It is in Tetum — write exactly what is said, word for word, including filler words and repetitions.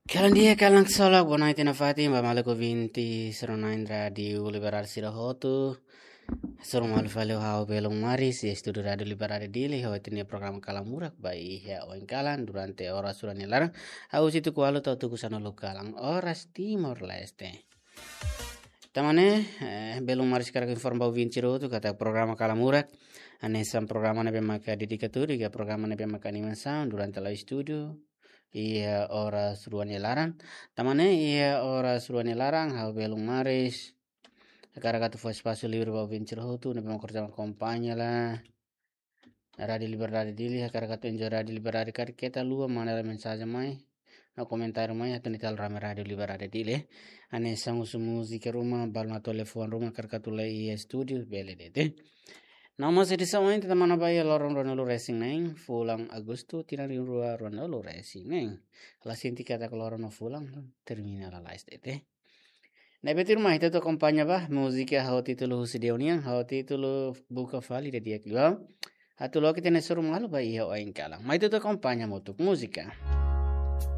Kalan di'ak, kalan solok, boa noite nafatin ba maluk ouvinte sira-nia Rádiu Liberdade sira hotu. Hasoru malu fali ho ha'u Belun Maris, iha estúdiu Rádiu Liberdade Dili, hodi halo programa Kalan Murak ba iha oin kalan durante oras rua nia laran. Husi tuku ualu to'o tuku sanulu kalan, oras Timor-Leste. Tan ne'e, eh, Belun Maris hakarak informa ba ouvinte sira hotu katak programa Kalan Murak hanesan programa ne'ebé maka dedikadu, iha programa ne'ebé maka animasaun durante la'o estúdiu iha oras rua nia laran. Tan ne'e iha oras rua nia laran, ha'u Belun Maris hakarak atu fó espasu livre ba ouvinte sira hotu ne'ebé maka akompaña Rádiu Liberdade Dili, hakarak atu enjoy Rádiu Liberdade, karik keta haluha manda mensajen mai no komentáriu mai, atu ita halo rame Rádiu Liberdade Dili. Hanesan husu múzika ruma, balu telefone ruma, hakarak atu lori iha estúdiu, bele de'it. No mós edisaun ohin ita tama ona ba iha loron ruanulu-resin-neen, fulan Agostu, tinan rihun rua ruanulu-resin-neen. La sente katak loron no fulan termina lalais de'it. Ne'ebé tuirmai, ita atu akompaña ba múzika ho títulu husi Deus nian, ho títulu Buka Fali, ida-idak liu. Atu loke ita-nia hasoru malu ba iha oin kalan. Mai ita atu akompaña hamutuk múzika.